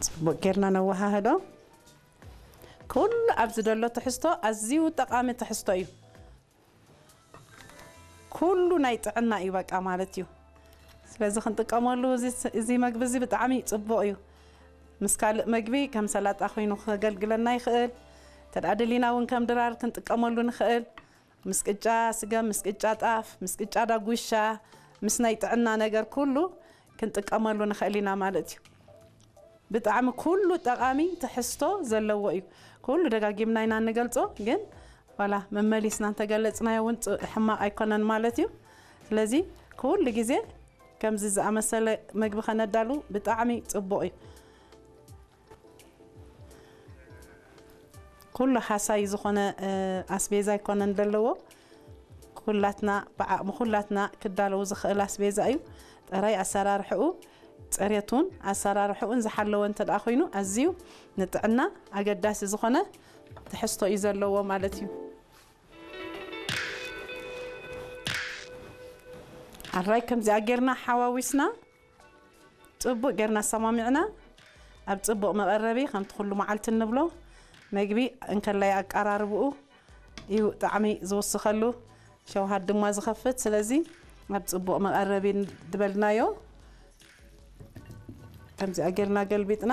ጽቡቕ ጌርና ነወሃህዶ። ኩሉ ኣብዚ ዘሎ ትሕዝቶ ኣዝዩ ጠቓሚ ትሕዝቶ እዩ። ኩሉ ናይ ጥዕና እዩ በቃ ማለት እዩ። ስለዚ ክንጥቀመሉ እዚ፣ እዚ መግቢ እዚ ብጣዕሚ ጽቡቕ እዩ። ምስ ካልእ መግቢ ከም ሰላጣ ኮይኑ ከገልግለና ይኽእል። ተድኣ ደሊና እውን ከም ድራር ክንጥቀመሉ ንኽእል። ምስ ቅጫ ስገም፣ ምስ ቅጫ ጣፍ፣ ምስ ቅጫ ዳጉሻ፣ ምስ ናይ ጥዕና ነገር ኩሉ ክንጥቀመሉ ንኽእል ኢና ማለት እዩ። ብጣዕሚ ኩሉ ጠቓሚ ትሕዝቶ ዘለዎ እዩ። ኩሉ ደጋጊምና ኢና እንገልጾ፣ ግን ዋላ መመሊስና እንተገለጽናዮ እውን ጽ-፣ ሕማቕ ኣይኮነን ማለት እዩ። ስለዚ ኩሉ ግዜ ከምዚ ዝኣመሰለ መግቢ ከነዳሉ ብጣዕሚ ጽቡቕ እዩ። ኩሉ ሓሳይ ዝኾነ፣ እ፣ ኣስቤዛ ኣይኮነን ዘለዎ። ኩላትና፣ ብዓቕሚ ኩላትና ክዳለዉ ዝኽእል ኣስቤዛ እዩ። ጥራይ ኣሰራርሕኡ፣ ጽሬቱን ኣሰራርሕኡን ዝሓለወ እንተ ደኣ ኮይኑ፣ ኣዝዩ ንጥዕና ኣገዳሲ ዝኾነ ትሕዝቶ እዩ ዘለዎ ማለት እዩ። ኣራይ ከምዚኣ ጌርና ሓዋዊስና፣ ጽቡቕ ጌርና ኣሰማሚዕና፣ ኣብ ጽቡቕ መቐረቢ፣ ከምቲ ኩሉ መዓልቲ እንብሎ፣ መግቢ እንከላይ ኣቀራርብኡ እዩ ጣዕሚ ዝውስኸሉ፣ ሸውሃት ድማ ዝኸፍት። ስለዚ ኣብ ጽቡቕ መቐረቢ ድበልናዮ። ከምዚኣ ጌርና ገልቢጥና፣